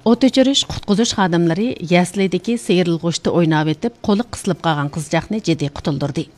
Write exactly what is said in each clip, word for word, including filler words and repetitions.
ئوت ئۆچۈرۈش، قۇتقۇزۇش خادىملىرى يەسلىدىكى سىيرىلغۇچتا ئويناۋېتىپ، قولى قىسىلىپ قالغان قىزچاقنى جىددىي قۇتۇلدۇردى.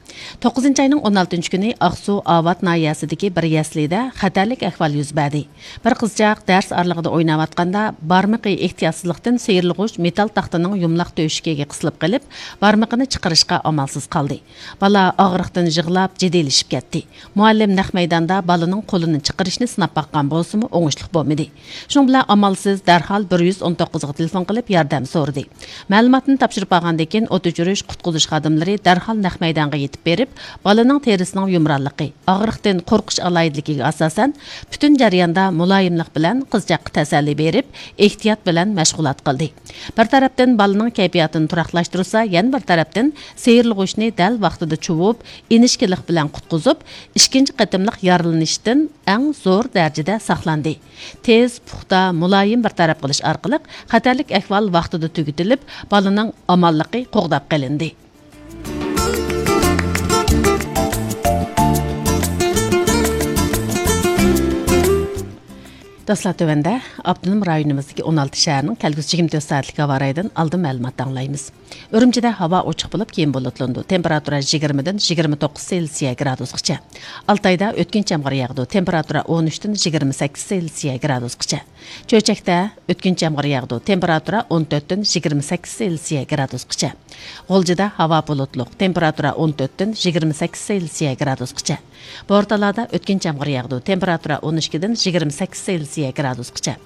توققۇزىنچى ئاينىڭ ئون ئالتىنچى كۈنى ئاقسۇ ئاۋات ناھىيەسىدىكى بىر يەسلىدە خەتەرلىك ئەھۋال يۈز بەردى. بىر قىزچاق دەرس ئارىلىقىدا ئويناۋاتقاندا، بارمىقى ئېھتىياتسىزلىقتىن سىيرىلغۇچ مېتال تاختىنىڭ يۇمىلاق تۆشۈكىگە قىسىلىپ قېلىپ، بارمىقىنى چىقىرىشقا ئامالسىز قالدى. بالا ئاغرىقتىن يىغلاپ، جىددىيلىشىپ كەتتى. مۇئەللىم نەق مەيداندا بالىنىڭ قولىنى چىقىرىشنى سىناپ باققان بولسىمۇ، ئوڭۇشلۇق بولمىدى. شۇنىڭ بىلەن ئامالسىز دەرھال بىر يۈز ئون توققۇزغا تېلېفون قىلىپ ياردەم سورىدى. مەلۇماتنى تاپشۇرۇپ بولغاندىن كېيىن، ئوت ئۆچۈرۈش، قۇتقۇزۇش خادىملىرى دەرھال نەق مەيدانغا يېتىپ بېرىپ، بالىنىڭ تېرىسىنىڭ يۇمرانلىقى، ئاغرىقتىن قورقۇش ئالاھىدىلىكىگە ئاساسەن، پۈتۈن جەرياندا مۇلايىملىق بىلەن قىزچاققا تەسەللى بېرىپ، ئېھتىيات بىلەن مەشغۇلات قىلدى. بىر تەرەپتىن بالىنىڭ كەيپىياتىنى تۇراقلاشتۇرسا، يەنە بىر تەرەپتىن سىيرىلغۇچنى دەل ۋاقتىدا چۇۋۇپ، ئىنچىكىلىك بىلەن قۇتقۇزۇپ، ئىككىنچى قېتىملىق يارىلىنىشتىن ئەڭ زور دەرىجىدە ساقلاندى. تېز، پۇختا، مۇلايىم بىر تەرەپ قىلىش ئارقىلىق خەتەرلىك ئەھۋال ۋاقتىدا تۈگىتىلىپ، بالىنىڭ ئامانلىقى قوغداپ قېلىندى. دوستلار، تۆۋەندە ئاپتونوم رايونىمىزدىكى ئون ئالتە شەھەرنىڭ كەلگۈسى يىگىرمە تۆت سائەتلىك ھاۋا رايىدىن ئالدىن مەلۇمات ئاڭلايمىز. ئۈرۈمچىدە ھاۋا ئوچۇق بولۇپ، كېيىن بۇلۇتلىنىدۇ. تېمپېراتۇرا يىگىرمىدىن يىگىرمە توققۇز سېلسىيە گرادۇسقىچە. ئالتايدا ئۆتكۈنچى يامغۇر ياغىدۇ. تېمپېراتۇرا ئون ئۈچتىن يىگىرمە سەككىز سېلسىيە گرادۇسقىچە. چۆچەكتە ئۆتكۈنچى يامغۇر ياغىدۇ. تېمپېراتۇرا ئون تۆتتىن يىگىرمە سەككىز سېلسىيە گرادۇسقىچە. غۇلجىدا ھاۋا بۇلۇتلۇق. تېمپېراتۇرا ئون تۆتتىن يىگىرمە سەككىز سېلسىيە گرادۇسقىچە. بورتالادا ئۆتكۈنچى يامغۇر ياغىدۇ. تېمپېراتۇرا ئون ئىككىدىن يىگىرمە سەككىز سېلسىيە گرادۇسقىچە.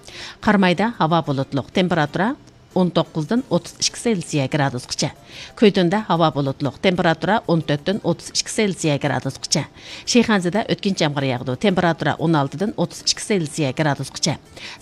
قارامايدا ھاۋا بۇلۇتلۇق. تېمپېراتۇرا ئون توققۇزدىن ئوتتۇز ئىككى سېلسىيە گرادۇسقىچە. كۈيتۈندە ھاۋا بۇلۇتلۇق، تېمپېراتۇرا ئون تۆتتىن ئوتتۇز ئىككى سېلسىيە گرادۇسقىچە. شىخەنزىدە ئۆتكۈنچى يامغۇر ياغىدۇ، تېمپېراتۇرا ئون ئالتىدىن ئوتتۇز ئىككى سېلسىيە گرادۇسقىچە.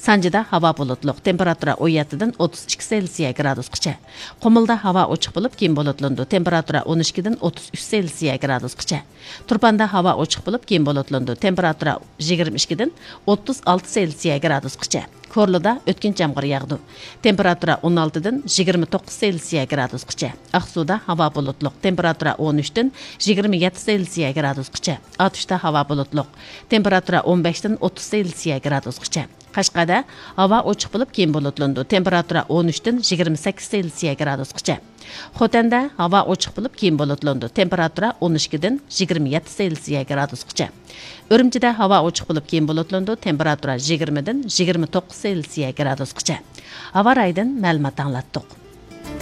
سانجىدا ھاۋا بۇلۇتلۇق، تېمپېراتۇرا ئون يەتتىدىن ئوتتۇز ئىككى سېلسىيە گرادۇسقىچە. قۇمۇلدا ھاۋا ئوچۇق بولۇپ، كېيىن بۇلۇتلىنىدۇ، تېمپېراتۇرا ئون ئىككىدىن ئوتتۇز ئۈچ سېلسىيە گرادۇسقىچە. تۇرپاندا ھاۋا ئوچۇق بولۇپ، كېيىن بۇلۇتلىنىدۇ، تېمپېراتۇرا يىگىرمە ئىككىدىن ئوتتۇز ئالتە سېلسىيە گرادۇسقىچە. كورلىدا ئۆتكۈنچى يامغۇر ياغىدۇ. تېمپېراتۇرا ئون ئالتىدىن يىگىرمە توققۇز سېلسىيە گرادۇسقىچە. ئاقسۇدا ھاۋا بۇلۇتلۇق، تېمپېراتۇرا ئون ئۈچتىن يىگىرمە يەتتە سېلسىيە گرادۇسقىچە. ئاتۇشتا ھاۋا بۇلۇتلۇق، تېمپېراتۇرا ئون بەشتىن ئوتتۇز سېلسىيە گرادۇسقىچە. قەشقەردە ھاۋا ئوچۇق بولۇپ، كېيىن بۇلۇتلىنىدۇ، تېمپېراتۇرا ئون ئۈچتىن يىگىرمە سەككىز سېلسىيە گرادۇسقىچە. خوتەندە ھاۋا ئوچۇق بولۇپ، كېيىن بۇلۇتلىنىدۇ، تېمپېراتۇرا ئون ئىككىدىن يىگىرمە يەتتە سېلسىيە گرادۇسقىچە. ئۈرۈمچىدە ھاۋا ئوچۇق بولۇپ، كېيىن بۇلۇتلىنىدۇ، تېمپېراتۇرا يىگىرمىدىن يىگىرمە توققۇز سېلسىيە گرادۇسقىچە. ھاۋا رايىدىن مەلۇمات ئاڭلاتتۇق.